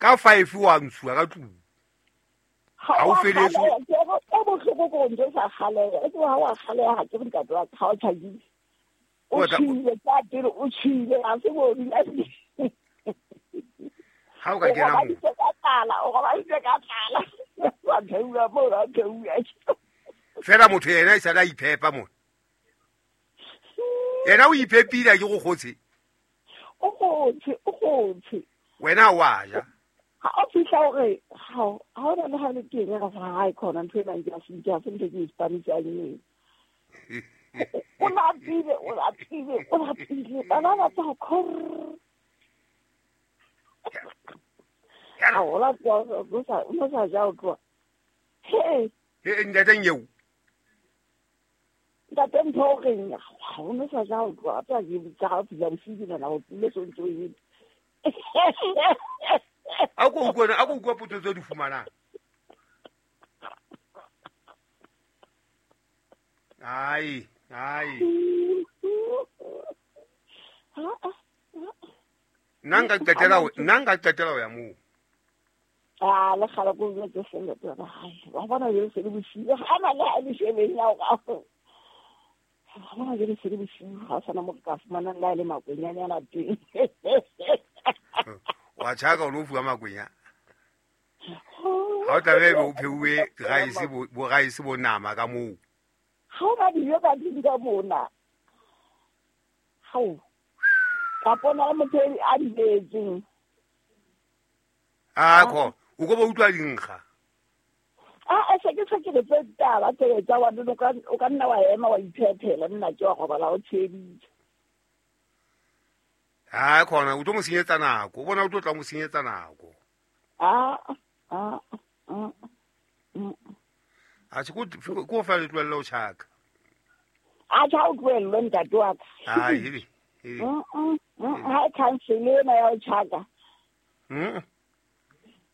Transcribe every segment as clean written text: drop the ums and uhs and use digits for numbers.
Ka 5 wa ntshuwa ka tlung. Ha o feletse. E bohloko ko ntse sa kgaleha. E tloha wa kgaleha ha ke re ntate wa ka ha o tjhakile. O tshile ka pele o tshile ha se bo dula. Ha o ka kena mo. O robaditse ka tlala. Wa theula mo wa theula. Fela motho yena e sala a iphepa mo. Yena o iphepile ke go kgotse. O kgotse, o kgotse. Wena wa ja. Ha o fihla hore ha o na le ha le teng ra fa hae khona ntho ena ke a se ke a se ntho ke Spanish a eng. O lapile, o lapile, o lapile. Bana ba tsa khor. Ha o la o sa o sa ja o tloha. He. He ntate nyeo. Ntate mpho o reng ha o no sa ja o tloha tsa ke tsa fihla bosiu na o tlile sontso e. A ko utlwa potso tse di fumanang. Ai, ai. Nna nka qetela ho ya moo. Ah, le kgala ko jwetse fela tsa hae. Wa bona jele se le bosiu. Ha na le ha le shebeng ya o. Ha bona jele se le bosiu ha sana mo ka fumanang la le makwenyane a teng. Wa tjhaka o lo fuwa makwenya. Ha o tla be o pheuwe rice bo rice bo nama ka moo. Ha o ba dijo ka tlung ka mona. Hao. Ka bona motho a di beetseng. A ko o go ba utlwa dinkga. A se ke se ke tse taba tse tsa wa o ka nna wa ema wa iphethela nna ke wa go bala o tsheditse. Ha khona o tlo mo senyetsa nako, o bona o tlo tla mo senyetsa nako. A A se ko fa le tlohella o tjhaka. A tjha o tlohellwe ntate wa ka. Ai hebe. Ha cancel ena ya o tjhaka.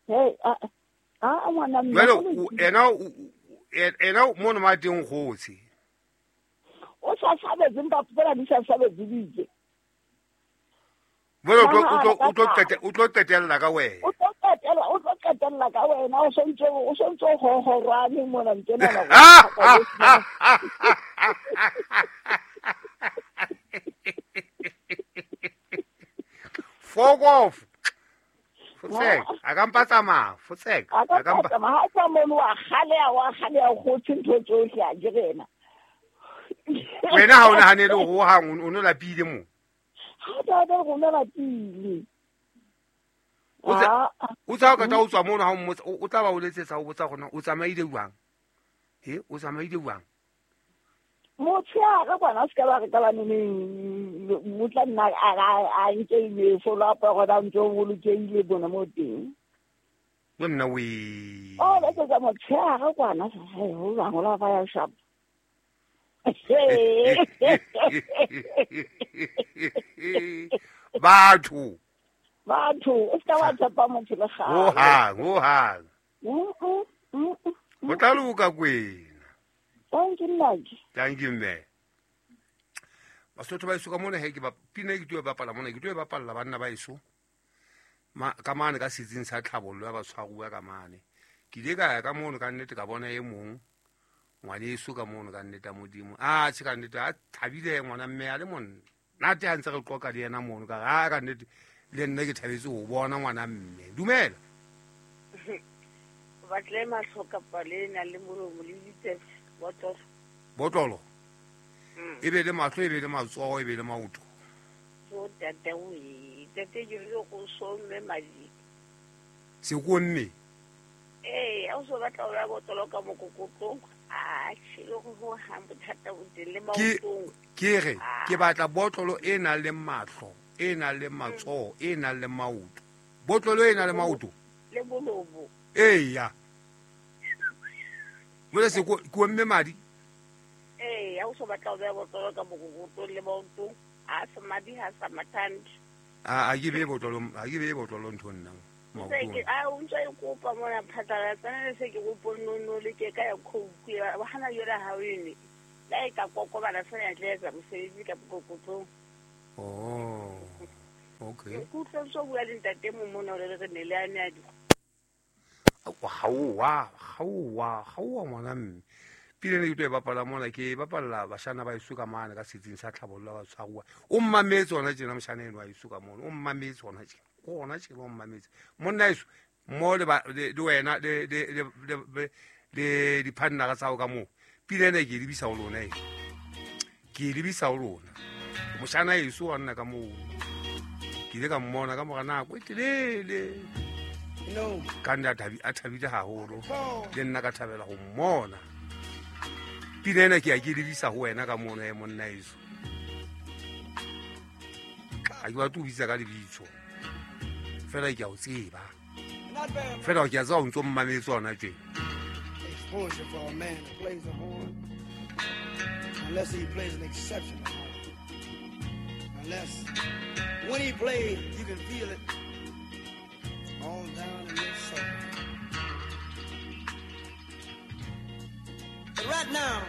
Hey, a ngwana mme. Jwale ena mo no ma teng kgotsi. O sa sabetse mpa fela di sa sabetse ditse. Jwale o tlo qetella ka wena. O tlo qetella ka wena o sontse ho horwane mona ntena la. Fuck off. Fotsek, a ka mpa tsamaya, fotsek. A ka mpa tsamaya, ha tsa mono wa kgalea go ntho tsohle a ke rena. Wena ha o nahanele ho hang o no lapile mo. Ha ba ba go na lapile. O tsa ka tla o tswa mono ha o mmotsa o tla ba o letsetsa o botsa gona o tsamaile jwang? He, o tsamaile jwang? Motshehare kwana se ka ba re ka ba neneng o tla nna a nke follow up gona ntse o bolokehile bona mo teng. Yo nna we. O letsetsa motshehare kwana ho bang o la ba ya shop. Batho o se ka wa tshepa motho le kgale. Ho hang. O tla loka kwena. Thank you, Naki. Thank you, mme. Basotho ba eso ka mona he ke ba pina ke tlo bapala mona ke tlo bapalla banna ba eso. Ma ka mane ka setsing sa tlhabollo ya batshwaruwa ka mane. Ke ile ka ya ka mono ka nnete ka bona e mong ngwaneso ka mono ka nnete Modimo. A tjhe ka nnete a thabile ngwana mme a le monna. Nate ha ntse re qoqa le yena mono ka ha ka nnete le nna ke thabetse ho bona ngwana mme. Dumela. Batle mahlo kapa le na le molomo le ditsebe. Botlolo. E be le mahlo, e be le matsoho, e be le maoto. So tata we, tata ke re go so mme madi. Se ko mme. Eh, a o so batla o ya botlolo ka mokokotlong. A tshilo go ha bothata bo teng le maotong. Ke re ke batla botlolo e nang le mahlo, e nang le matsoho, e nang le maoto. Botlolo e nang le maoto. Le bolobo. Eya. Jwale se ko mme madi. Eh, a o so batla o beha botlolo ka mokokotlong le maotong. A se madi ha sa mathandi. A ke be botlolo, a ke be botlolo ntho nna. Maotong. A o ntse e kopa mona phatlalatsa le se ke kopo nono le ke ka ya khouku ya hana yona ha o ene. La e ka kokobana fela ya tla etsa mosebetsi ka mokokotlong. Oh. Okay. Ke utlwa so bua le ntate mong mona o le re ne le ane a di. Gaowa gaowa gaowa ngwana mme pina ene ke tlo e bapala mona ke e bapalla bashana ba eso ka mane ka setsing sa tlhabollo ba tshwaruwa o mmametse ona tjena moshana eno wa eso ka mono o mmametse ona tjena ona tjena o mmametse monna eso mo le le wena le le le le diphannara tsa hao ka moo pina ena ke e lebisa ho lona e ke e lebisa ho lona moshana eso wa nna ka moo ke ile ka mmona ka mora nako e telele ka nne a thabile haholo le nna ka thabela go mmona pina ena ke ya ke lebisa ho wena ka mono e monna eso ga ke batle o bitsa ka lebitso fela ke a o tseba fela ke a tseba o ntse o mmametse ona tje. Exposure for a man who plays the horn, unless he plays an exceptional horn. Unless when he plays, you can feel it all down in your soul. But right now,